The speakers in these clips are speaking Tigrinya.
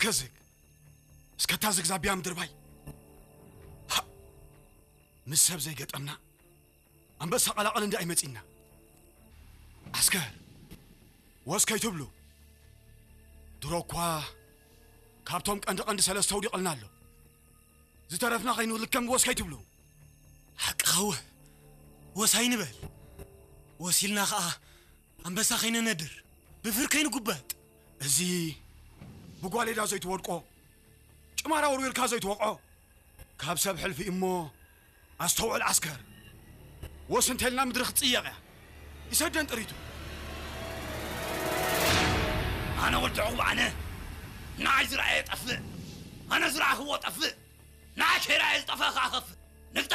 ከዝግ እስከታ ዝግ ዛቢያ ምድርባይ። ሃ! ምስ ሰብ ዘይገጠምና ኣንበሳ ቀላቐል እንዳ ኣይመጺና። ዓስከር ወስ ከይትብሉ። ድሮ እኳ ካብቶም ቀንዲ ቀንዲ ሰለስተ ውዲቕልና ኣሎ። ዝተረፍና ከይንልከም ወስ ከይትብሉ። ሓቅኻ ወ-፣ ወስ ኣይንበል። ወሲልና ኸኣ ኣንበሳ ከይነነድር፣ ብፍር ከይንጉበጥ። እዚ ብጓሌዳ ዘይትወድቆ፣ ጭማራ ወርዊርካ ዘይትወቕዖ፣ ካብ ሰብ ሕልፊ እሞ ኣስተውዕል ዓስከር። ወስ እንተልና ምድሪ ክትጽየቕ እያ። ይሰደን ጥሪቱ። ኣነ ወዲ ዕቑብ ኣነ። ንዓይ ዝረኣየ ጠፍእ። ኣነ ዝረኣኽዎ ጠፍእ። ንዓይ ከይረኣየ ዝጠፍአ ከኣ ከፍእ። ንግጠ!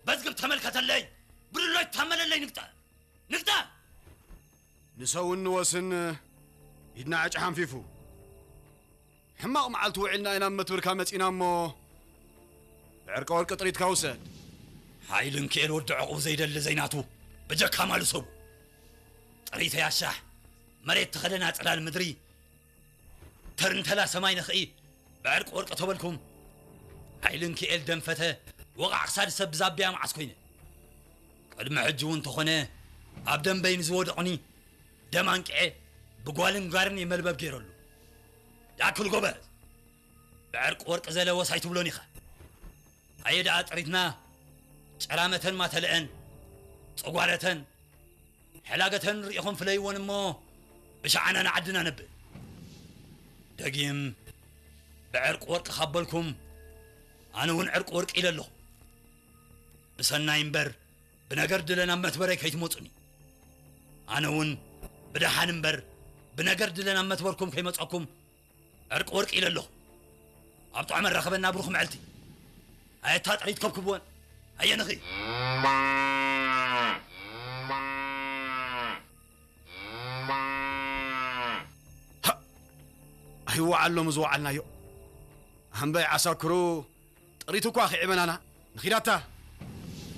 በዝግብ ተመልከተለይ። ብድሎይ ተመለለይ ንግጠ! ንግጠ! ንሰውን ንወስን ኢድና ዕጭ ሓንፊፉ። ሕማቕ መዓልቲ ውዒልና ኢና ኣብ መትብርካ መጺና እሞ፣ ብዕርቀ ወርቂ ጥሪትካ ውሰድ። ሓይልን ክኤል ወዲ ዕቑብ ዘይደሊ ዘይናቱ፣ በጀካ ማሉ ሰቡ። ጥሪተይ ኣሻሕ፣ መሬት ተኸደና ጽላል ምድሪ፣ ተርንተላ ሰማይ ነኽኢ፣ ብዕርቂ ወርቂ ተበልኩም። ሓይልን ክኤል ደንፈተ፣ ወቓዕ ክሳድ ሰብ ብዛብያ መዓስ ኮይነ። ቅድሚ ሕጂ እውን ተኾነ፣ ኣብ ደንበይ ንዝወደቑኒ፣ ደም ኣንቅዔ፣ ብጓልን ጋርን እየ መልበብ ገይረሉ። ያክል ጎበዝ፣ ብዕርቂ ወርቂ ዘለ ወስ ኣይትብሎን ኢኻ። ኣየ ደኣ ጥሪትና፣ ጨራመተን ማተልአን፣ ጸጓረተን፣ ሕላገተን ርኢኹም ፍለይዎን እሞ፣ ብሸዓና ንዓድና ነብል። ደጊም፣ ብዕርቂ ወርቂ ካብ በልኩም፣ ኣነ እውን ዕርቂ ወርቂ ኢለ ኣለኹ። ብሰናይ እምበር፣ ብነገር ድለ ናብ መትበረይ ከይትመጹኒ። ኣነ እውን፣ ብደሓን እምበር፣ ብነገር ድለ ናብ መትበርኩም ከይመጸኩም፣ ዕርቂ ወርቂ ኢለ ኣለኹ። ኣብ ጥዑም ኣራኸበና ብሩኽ መዓልቲ። ኣየታ ጥሪት ከብክብወን። ኣየንኺ። ሃ! ኣይወዓሎም ዝወዓልናዮ። ኣምባይ ዓሳክሩ ጥሪት እኳ ክዕበናና። ንኺዳታ።